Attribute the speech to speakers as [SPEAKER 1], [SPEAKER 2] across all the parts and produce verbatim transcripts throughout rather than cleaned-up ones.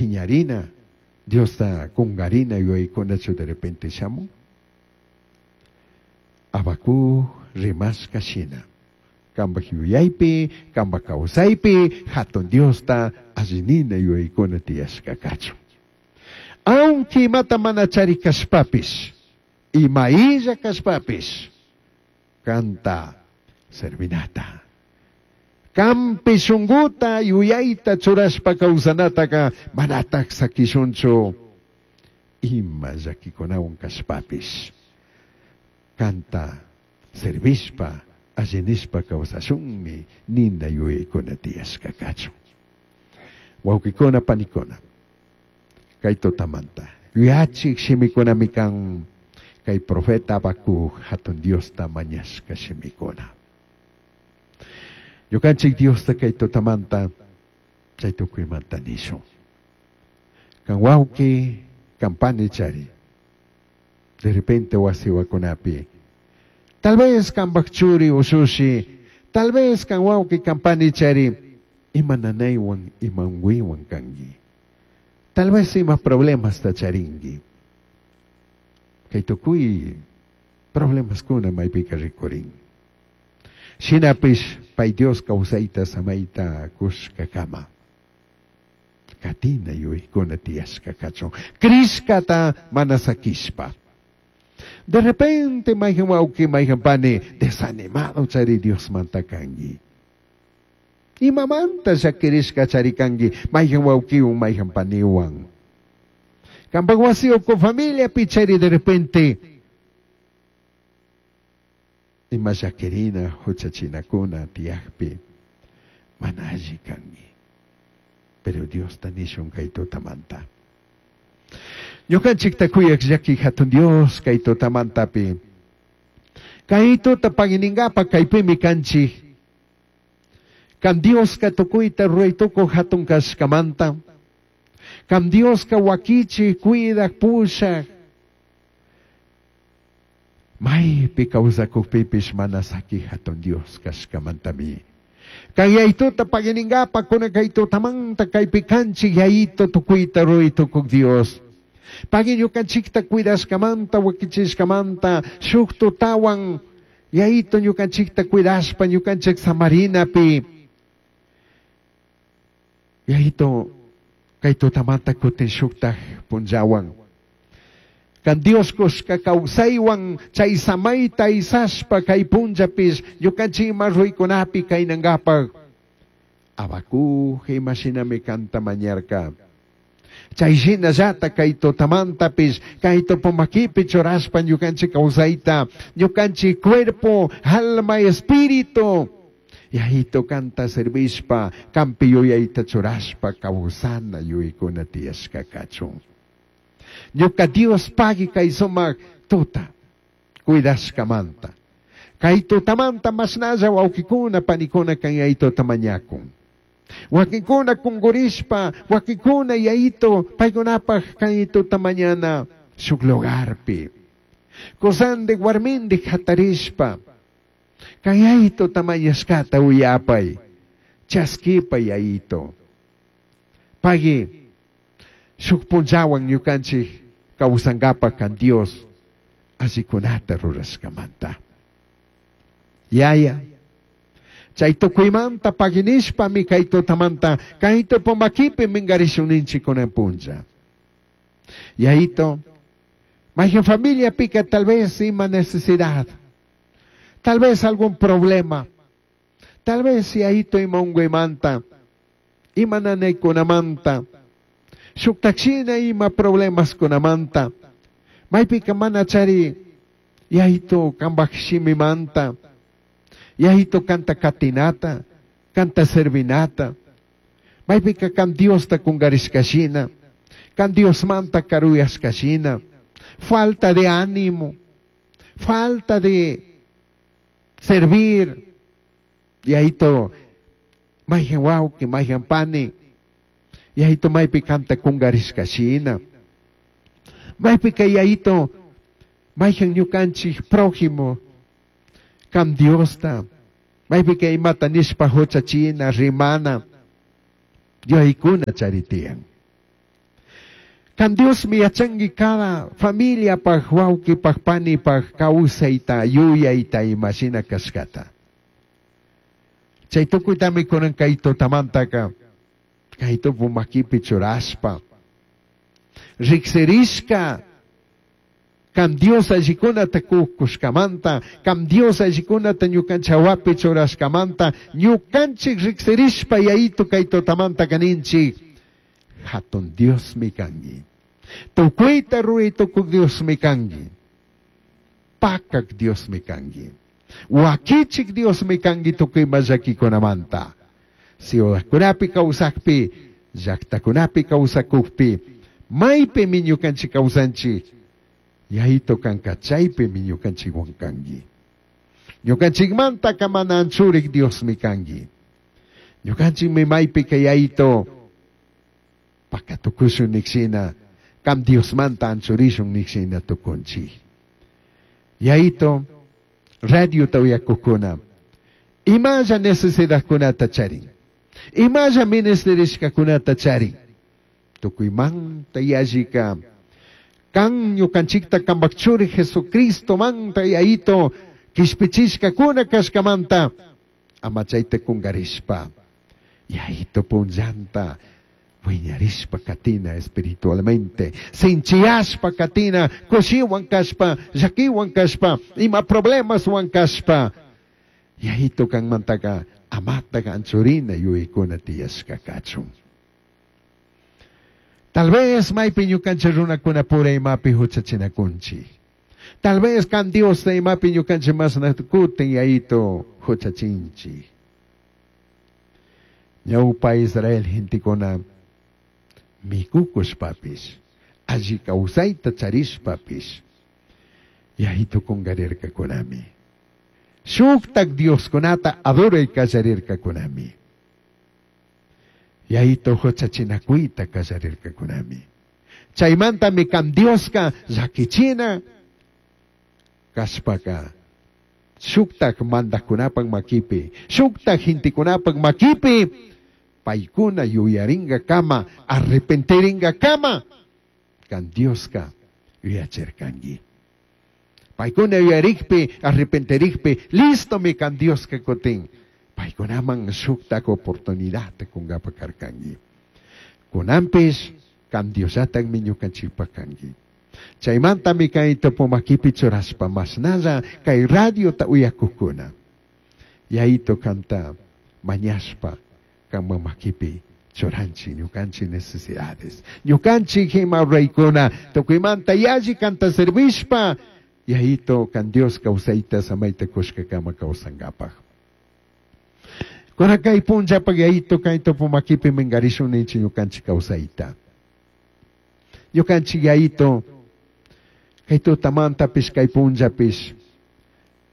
[SPEAKER 1] Piñarina, Diosta kungarina yuyaykunachu de repente shamun? Habacuc rimashka shina. Kambaj yuyaypi, kambaj kawsaypi, hatun Diosta allinina yuyaykuna tiyashka kachun. Aunque imata mana chari kashpapish, ima illa kashpapish, kanta servinata. Kampi shunguta yuyayta churashpa kawsanataka manatak sakishunchu ima llakikunawan kashpapish. Kanta servishpa, allinishpa kawsashunmi nina yuyaykuna tiyashka kachun. Wawqikuna panikuna, kay tutamanta yuyachik shimikunami kan kay profeta Habacuc hatun Diosta mañashka shimikuna. Ñukanchik Diosta kay tutamanta chay tukuymanta nishun. Kan wawqi, kan pani chari. De repente wasiwakunapi. Tal vez kambaj churi ushushi, tal vez kan wawqi kan pani chari, ima nanaywan, ima unguywan kanki. Tal vez ima problemas ta charinki. Kay tukuy problemas kuna maypika rikurin. Shinapish pay Dios kawsayta samayta kushka kama. Katina yuyaykuna tiyashka kachun. Krishkata mana sakishpa. De repente mayhan wawqi mayhan pani desanimado chari Dios manta kanki. Imamanta llakirishka chari kanki mayhan wawqiwan mayhan paniwan. Kampak wasi uku familia pichari de repente ima llakirina huchachinakuna tiyakpi mana alli kanki. Pero Dios ta nishun kay tutamanta. Ñukanchikta kuyak llaki hatun Dios kay tutamantapi. Kay tuta paginingapa kaypimi kanchik. Kan Dioska tukuyta ruray tukuj hatun kashkamanta. Kan Dioska wakichik, cuidak, pushak. Maypi kawsakukpipish mana saki hatun Dios kashkamantami. Kan yayituta paginingapa kuna kay tutamanta kaypi kanchik yayito tukuyta ruray tukuk Dios. Pagui ñukanchikta cuidashkamanta, wakichishkamanta, shuk tutawan yayito ñukanchikta cuidashpa ñukanchik samarinapi. Yayito kay tutamanta kutin shuktaj punllawan. Kan Dios kushka kawsaywan chay samayta isashpa kay punllapish ñukanchik ima ruykunapi kaynankapaq. Habacuc imashinami kanta mañarka. Chay shinallata kay tutamantapish kay tupumakipi churashpa ñukanchik kawsayta, ñukanchik cuerpo, alma, espíritu. Yayito kanta servishpa, kampi yuyayta churashpa kawsana yuyaykuna tiyashka kachun. Ñuka Dios pagui kay sumak tuta, cuidashkamanta. Kay tutamanta mashnalla wawqikuna panikuna kan yayituta mañakun. Wakinkuna kungurishpa, wakinkuna yayito paykunapaj kay tuta mañana shuk lugarpi. Kusandik warmindik hatarishpa, kay yayito tamañashkata uyapay, chaskipa yayito. Pagui, shuk punllawan ñukanchik kawsankapa kan Dios allikunata rurashkamanta. Yaya, chay tukuymanta paginishpami kay tutamanta kay tupumakipi mingarishun kunan punlla. Yayito, mayhan familia pica tal vez ima necesidad, tal vez algún problema, tal vez yayito ima unguymanta, ima nanaykunamanta, shuktakshina ima problemas kunamanta, maypika mana chari yayito kambaj shimimanta, yayito kanta katinata, kanta servinata, maypika kan Diosta kungarishkashina, kan Diosmanta karuyashkashina, falta de ánimo, falta de servir, yayito mayhan wawqi, mayhan pani, yayito maypi kanta kungarishkashina, maypika yayito mayhan ñukanchik prójimo, kan Diosta, maypika imata nishpa huchachina, rimana, yuyaykuna charitiyan. Kan Diosmi yachanki cada familiapaj, wawqipaj, panipaj kawsayta, yuyayta imashina kashkata. Chay tukuytami kunan kay tutamantaka kay tupu makipi churashpa riqsirishka kan Dios allikunata kushkamanta, kan Dios allikunata ñukanchawapi churashkamanta, ñukanchik riqsirishpa yayitu kay tutamanta kaninchik hatun Diosmi kanki. Tukuyta ruray tukuq Diosmi kanki. Pakak Diosmi kanki. Wakichik Diosmi kanki tukuy ima llakikunamanta. Ciudadkunapi kawsakpi, llaqtakunapi kawsakukpi, maypimi ñukanchik kawsanchik, yayitu kanka chaypimi ñukanchikwan kanki. Ñukanchikmanta mana anchurik Diosmi kanki. Ñukanchikmi maypika yayitu pakatukushun nikshina, kam Diosmanta anchurishun nikshina tukunchik. Yayitu, radiota uyakukuna, imalla necesidadkunata charin, imalla ministerishkakunata charin, tukuymanta yallika, kan ñukanchikta kambak churi Jesucristo manta yayitu, kishpichishkakuna kashkamanta, ama chayta kungarishpa, yayitu punllanta, wiñarishpa katina espiritualmente, sinchiyashpa katina, kushiwan kashpa, llakiwan kashpa, ima problemaswan kashpa, yayitu kanmantaka amataqa anchurina yuyaykuna tiyashka kachun. Tal vez maypi ñukanchik runakuna pura imapi huchachinakunchik. Tal vez kan Diosta imapi ñukanchik masna kutin yayitu huchachinchik. Ñawpa Israel gentekuna mikukushpapish, alli kawsayta charishpapish, yayitu kungarirkakunami. Shuktak Dioskunata adoray kallarirkakunami. Yayitu huchachinakuyta kallarirkakunami. Chaymantami kan Dioska llakichina kashpaka shuktak mandakkunapak makipi, shuktak gentekunapak makipi, paykuna yuyaringa kama, arrepentiringa kama, kan Dioska yuyachirkanki. Paykuna yuyarikpi, arrepentirikpi, listomi kan Dioska kutin. Paykunaman shuktak oportunidad kunkapa karkanki. Kunanpish kan Diosllatakmi ñukanchikpak kanki. Chaymantami kay tupumakipi churashpa mashnalla kay radiota uyakukuna. Yayitu kanta mañashpa kanman makipi churanchik ñukanchik necesidades. Ñukanchik ima ruraykuna tukuymanta yalli kanta servishpa yayitu kan Dios kawsayta samayta kushkakama kawsankapaj. Kuna kay punllapak yayitu kay tupumakipi minkarishun ninchik ñukanchik kawsayta. Ñukanchik yayitu kay tutamantapish kay punllapish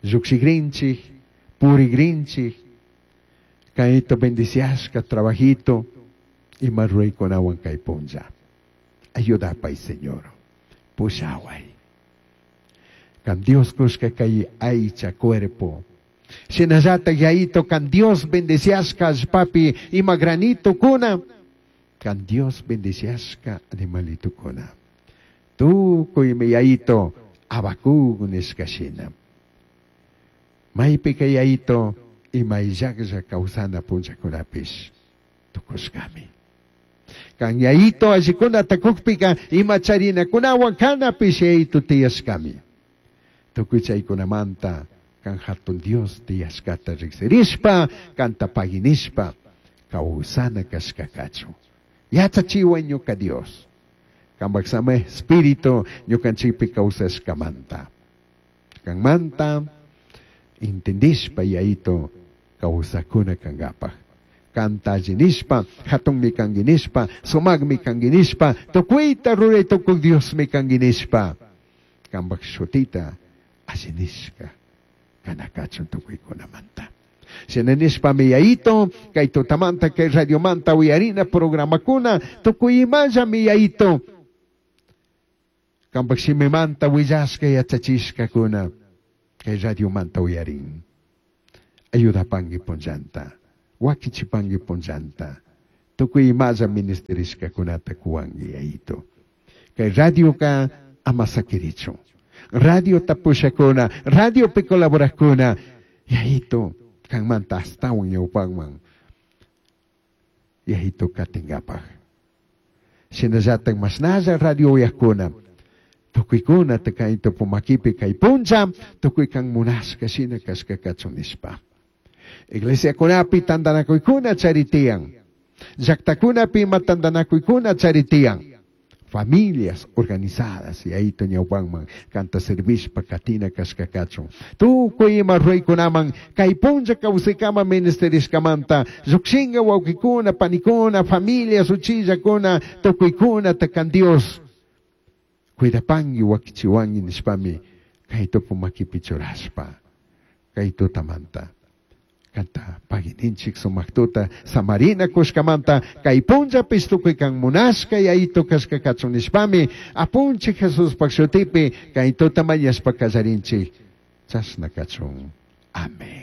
[SPEAKER 1] llukshikrinchik, purikrinchik, kayto bendiciashka trabajito ima ruraykunawan kay punlla. Ayudapay Señor, pushaway. Kan Dios kushka kay aycha cuerpo. Shinallata yayitu kan Dios bendiciashka allpapi ima granito kuna, kan Dios bendiciashka animalito kuna. Tukuymi yayitu abakuk nishka shina. Maypika yayitu ima illaklla kawsana punllakunapish tukushkami. Kan yayitu allikunata kukpika ima charinakunawan kanapish yayitu tiyashkami. Tukuy chaykunamanta kan hatun Dios tiyashkata riqsirishpa, kanta paginishpa, kawsana kashka kachun. Yachachiway ñuka Dios. Kambak sama espíritu ñukanchikpi kawsashkamanta. Kanmanta intendishpa yayitu kawsakuna kankapaj. Kanta allinishpa, hatunmi kanki nishpa, sumakmi kanki nishpa, tukuyta ruray tukuq Diosmi kanki nishpa. Kambak shutita allinishka kanakachun tukuykunamanta. Shina nishpami yayitu, kay tutamanta, kay radiomanta uyarina programakuna, tukuy imallami yayitu. Kambak shimimanta willashka yachachishkakuna, kay radiomanta uyarin. Ayudapanki punllanta, wakichipanki punllanta, tukuy imalla ministerishkakunata kuwanki yayitu. Kay radioka ama sakirichun. Radio tapushakuna, radiopi colaborakuna, Yayito, kanmanta astawan ñawpakman. Yayito katingapaj. Shinallatak mashnalla radio uyakuna. Tukuykuna kay tupumakipi kay puncha, tukuy kan munashka shina kashka kachun nishpa. Iglesiakunapi tantanakuykuna charitiyan. Llaqtakunapi ima tantanakuykuna charitiyan. Familias organizadas y ahí ñawpanman kanta servishpa katina kashka kachun. Tukuy ima ruraykunaman kay punlla kawsaykama ministerishkamanta llukshinga wawqikuna, panikuna, familias, uchillakuna, tukuykuna takan Dios. Cuidapangi wakichiwangi nishpami kay tupu makipi churashpa kay tutamanta. Kanta pagininchik sumaqtuta samarina kushkamanta kay punllapis tukuy kan munashka yayito kashka kachun nishpami apunchik Jesuspaq shutipi kay tuta mañashpa kallarinchik chashna kachun. Amén.